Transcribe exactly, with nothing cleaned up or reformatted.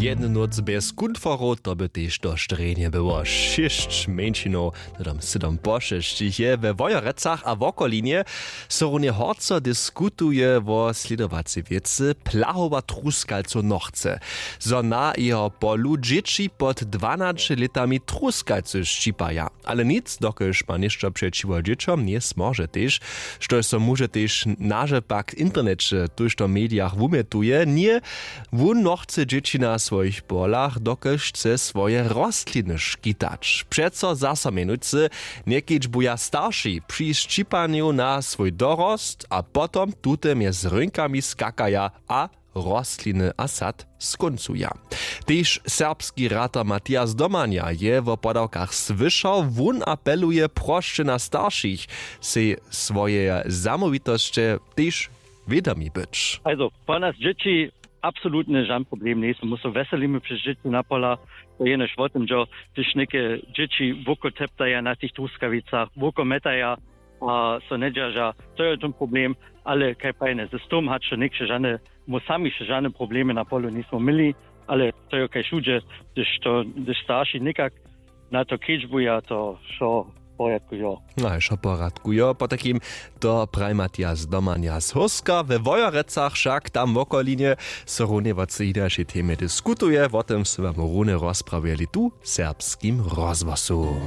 Jednu nóc bjez kunforow, to by tež to štrjenje było. Šěsć mjeńšinow, to tam sydom po šesćich je we Wojerecach a wokolinje. So runje horco diskutuje wo slědowacej wěcy, plahowa truskalcow nochce, zo na jeho polu dźěći pod dwanaće lětami truskalcy šćipaja. Ale nic, dokelž ma něšto přećiwo dźěćom njezmóže tež, štož so móže tež naže pak w interneće tójšto w medijach wumjetuje, ně. Wón nochce dźěći na swojich polach, dokelž chce swoje rostliny škitać. Přeco zaso mjenujcy, njekedźbuja starši při šćipanju na swój dorost a potom tute mjez rynkami skakaja a rostliny a sad skóncuja. Tež serbski ratar Matias Domanja je wo podawkach słyšał. Wón apeluje prosće na staršich, sej swojeje zamołwitosće tež wědomi być. Also po nas dźěći absolutnje žan problem njejsu, my so weselimy přez dźěći na pola. To jenož wo tym dźo, hdyž něke dźěći woko teptaja na tych truskawicach, woko metaja a so njedźerža, to je ten problem. Ale kaj prajene, z tym hač to někše žane, my sami še žane problemy na polu njejsmy měli. Ale to je kaj wšudźe, hdyž to hdyž starši někak na to kedźbuja, to wšo w porjadku jo. No a wšo w porjadku jo, potajkim to praj Matias Domanja z Hórska. We Wojerecach wšak tam wokolinje so runje wo cej hinašej temje diskutuje. Wo tym sy wam runje rozprawjeli tu w Serbskim rozhłosu.